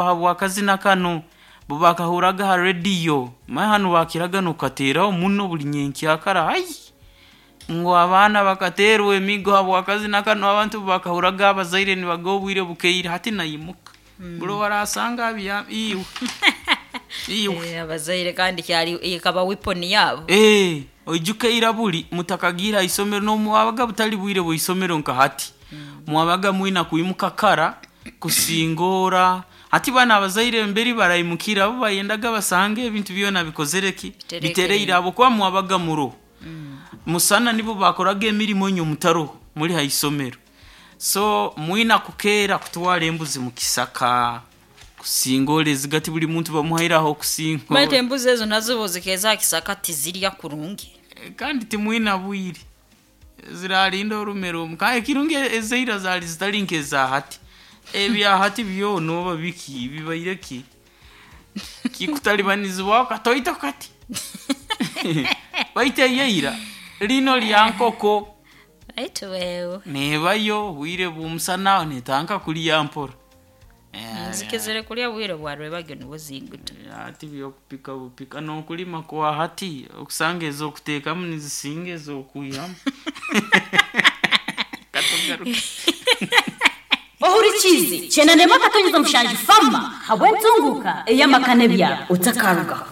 Habw'akazina kanu bo bakahurraga ha rediyo manya hanu bakiraga n'okukateeraho muno buli nyenkyakara, hai! Ngu abaana bakateerwa emiigo habw'akazina kanu abantu obu bakahurraga abazaire nibaga obwire bukeire hati naimuka, buli owu araasanga abyami, iwe, iwe. Abazaire kandi kyali ekaba weapon yabo. Oijuke ira buli mutakagiire ha isomero n'obu butali bwire bw'isomero nka hati, mwabaga mwina kwimuka kara kusingoora, hati banu abazaire mbere baraimukira bo bayendaga basange ebintu byona bikozere ki? Bitereire habwokuba mwabaga muroho. Musana nibo baakoraga emirimo inywe mutaroho muli ha isomero. So mwina kukeera kutwara embuzi mu kisaka, kusingoora ezigati buli muntu bamuhaire Baitu ah'okusingoora. embuzi ezo nazo obu zikeeza ha kisaka tizirya kurungi. Kandi timwina bwire, ziraarinda orume rumu kandi ekirungi ezaira zaali zitali nk'eza hati. Ebya hati byona oba biki bibaire ki? Kikutalibanizibwaho katoito kati. Baitu eyaira, lino lya nkoko Baitu wewe. neebayo obwire bw'omusana aho neetandika kulya mpora. Zikizire kulya bwire bwa rwebagyo nubwo ziiguta. Hati by'okupika bupika n'okulima kwa hati okusanga ez'okuteekamu nizisinga ez'okwihamu. Katugaruke. Ohurikiize kyenda 7.7 fama habw'entunguka ey'amaka n'ebyaro otakarugaho.